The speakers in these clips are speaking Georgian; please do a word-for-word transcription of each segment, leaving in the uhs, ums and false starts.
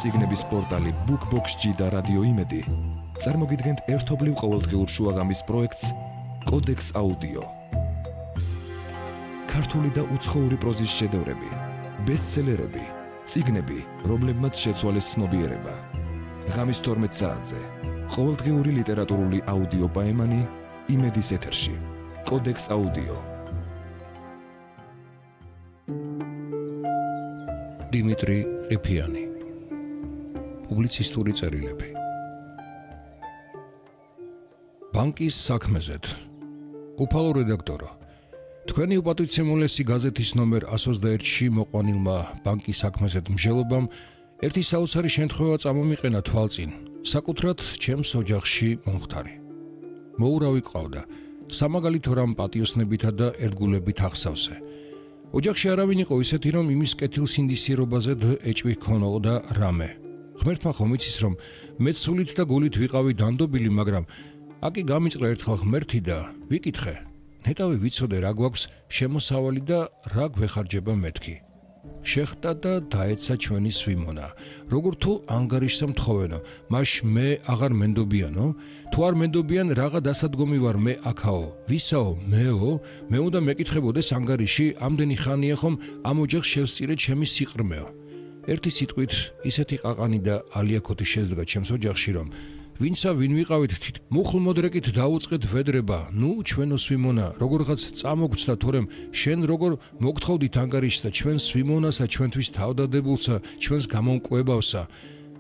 წიგნების პორტალი BookBox-ი და რადიო იმედი წარმოგიდგენთ ერთობლივ ყოველდღიურ შუაღამის პროექტს კოდექს აუდიო. ქართული და უცხოური პროზის შედევრები, ბესტსელერები, წიგნები, რომლებმაც შეცვალეს ცნობიერება. ღამის თორმეტ საათზე ყოველდღიური ლიტერატურული აუდიო პაემანი იმედის ეთერში. კოდექს აუდიო. დიმიტრი ყიფიანი. პუბლიცისტური წერილები. ბანკის საქმეზეთ. უფალო რედაქტორო, თქვენი უპატვიცემულესი გაზეთის ნომერ εκατს ოცდაერთში მოყვანილმა ბანკის საქმეზეთ მსჯელობამ ერთი საოცარი შემთხვევა წამომიყენა თვალწინ, საკუთრად ჩემს ოჯახში მომხდარი. მოურავი ყავდა, სამაგალითო რამ პატიოსნებითა და ერთგულებით ახსავსე. ოჯახში არავინ იყო ისეთი, რომ იმის კეთილსინდისიერობაზე ეჭვი ჰქონოდა რამე. ღმერთმა ხომ იცის, რომ მეც სულით და გულით ვიყავი დანდობილი, მაგრამ აკი გამიწყდა ერთხელ ღმერთი და ვიკითხე, ნეტავი ვიცოდე რა გვაქვს შემოსავალი და რა გვეხარჯება მეთქი. შეხტა და დაეცა ჩვენი სვიმონა. როგორ თუ ანგარიშსა მთხოვენო, მაშ მე აღარ მენდობიანო? თუ არ მენდობიან, რაღა დასადგომი ვარ მე აქაო, ვისაო, მეო? მე უნდა მეკითხებოდეს ანგარიში, ამდენი ხანია ხომ ამ ოჯახს შევსწირე ჩემი სიყრმეო. ერთი სიტყვით ისეთი ყაყანი და ალიაქოთი შეძდგა ჩემს ოჯახში, რომ ვინცა ვინ ვიყავით თით მუხლმოდრეკით დაუწყეთ ვედრება, ნუ ჩვენო სვიმონა, როგორღაც წამოგცდა, თორემ შენ როგორ მოგთხოვდით ანგარიშს და ჩვენ სვიმონასა, ჩვენთვის თავდადებულსა, ჩვენს გამომკვებავსა.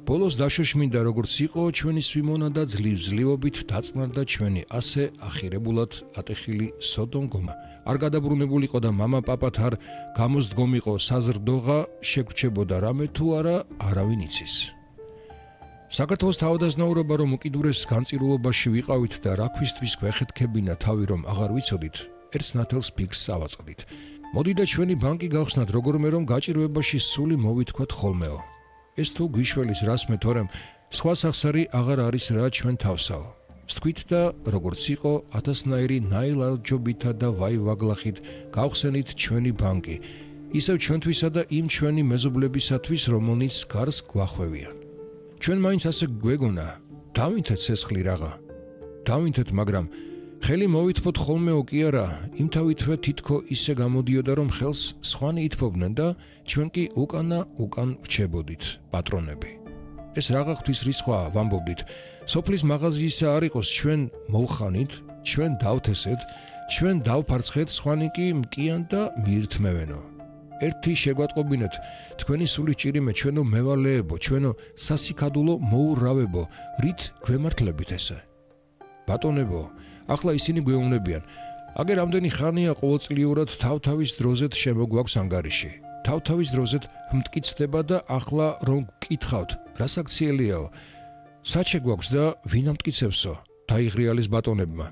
ბოლოს დაშოშმინდა როგორც იყო ჩვენი სვიმონა და ძლივ-ძლივობით დაწნარდა ჩვენი ასე ახირებულად ატეხილი სოდომგომა. არ გადაბრუნებულიყო და მამა პაპათ არ გამოსდგომიყო საზრდოღა, შეგვრჩებოდა რამე თუ არა, არავინ იცის. საქართველოს თავადაზნაურობა რომ უკიდურეს განწირულობაში ვიყავით და რა ქვისთვის გვეხეთქებინა თავი რომ აღარ ვიცოდით, ერთს ნათელს ფიქს ავაწყდით. მოდი და ჩვენი ბანკი გავხსნათ როგორმე რომ გაჭირვებაში სული მოვითქვათ ხოლმეო. ეს თუ გვიშველის რას მე თორემ სხვა სახსარი აღარ არის რა ჩვენ თავსაო. ვთქვით და როგორც იყო ათასნაირი ნაილალჯობითა და ვაივაგლახით გავხსენით ჩვენი ბანკი, ისევ ჩვენთვისა და იმ ჩვენი მეზობლებისათვის რომელნიც გარს გვახვევიან. ჩვენ მაინც ასე გვეგონა, დავინთეთ ცეცხლი რაღა. დავინთეთ, მაგრამ ხელი მოვითფოთ ხოლმეო კი არა, იმთავითვე თითქო ისე გამოდიოდა რომ ხელს სხვანი ითფობდნენ და ჩვენ კი უკანა უკან ვრჩებოდით, პატრონები. ეს რაღა ღვთის რისხვა ვამბობდით. სოფლის მაღაზიისა არ იყოს, ჩვენ მოვხანით, ჩვენ დავთესეთ, ჩვენ დავფარცხეთ, სხვანი კი მკიან და მიირთმევენო. ერთი შეგვატყობინეთ, თქვენი სულის ჭირიმე, ჩვენო მევალეებო, ჩვენო სასიქადულო მოურავებო, რით გვემართლებით ესე? ბატონებო, ახლა ისინი გვეუბნებიან, აგერ ამდენი ხანია ყოველწლიურად თავთავის დროზეთ შემოგვაქვს ანგარიში. თავთავის დროზეთ მტკიცდება და ახლა რომ გკითხავთ, რას აქციელიაო? საჩე გვაქვს და ვინ ამტკიცებსო? დაიღრიალის ბატონებმა.